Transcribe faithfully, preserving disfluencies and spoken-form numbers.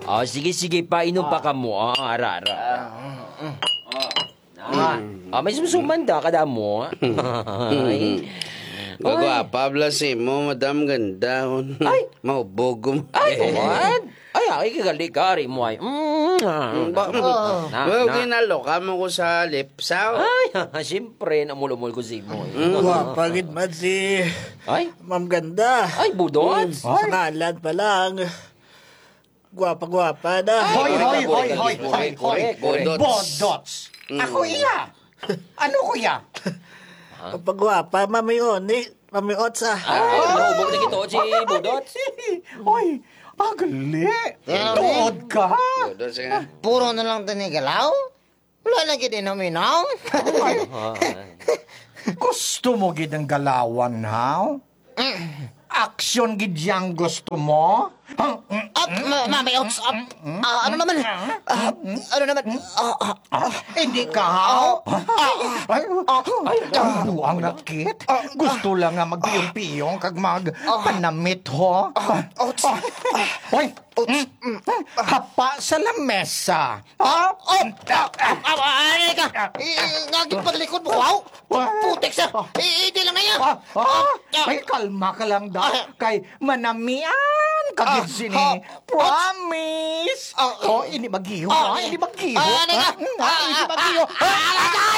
Oh, sige, sige, painom pa kamo. Ah, ara, ara. Ah, ah, may sumsuman da, kada mo. Ay. Magwapa bala si mo, Madam Ganda. Ay! Mahubog mo. Ay, what? Ay, ay, kagali ka, ari mo ay. Mm, ah. Mm, ba-, Ah. Na, Well, na. ginalo ka mo ko sa lips, ah. Ay, siyempre, namulumol ko si mo. Mm. Gwapa gid man si Ay. Ma'am Ganda. Ay, budot. Mm, sa Ay. ngalan pa lang. Gwapa-gwapa na. Ay, Hoy, ay, hoy, ay, hoy, ay, hoy, ay, hoy, ay, hoy. Bodots. Bodots. Mm. Ako iya. Ano ko iya? Pagwapa, mamioni, mamiotsa. Ah, Oh. Naubog na kito si Budot. Oy, agli. Grabe. Tuod ka. Tuod siya. Puro na lang tinigalaw? Wala na gid inom-inom. Ay. Gusto mo gid ang galawan, ha? Mm. Action gid yang gusto mo? Up, ma-, mami, ups, up. Ah, ano naman? Ah, ano naman? Ah, ah, Ah, hindi ka, ha? Ah, Ay, ay, ay, ang buang nakit. Gusto lang nga magpiyong-piyong kag magpanamit, ho? Ah, Hoy! Hapa sa lamesa. Ha? Oh, ah, ah, ah, ah, ano ka? I-, i-, nga gid paglikod mo, wow! Putik siya! I-, hindi lang na yan! Ah, ah, Ah, ah. Ay, kalma ka lang, da. Ah. Kay manamian ka Ah, gid sini. ah, Promise. ah, ah. Oh, ini magiho, Ah, ah, ini magiho. Ah, ano ka? Ah, ah, ini magiho. Ah, ah, ah, ah, ah.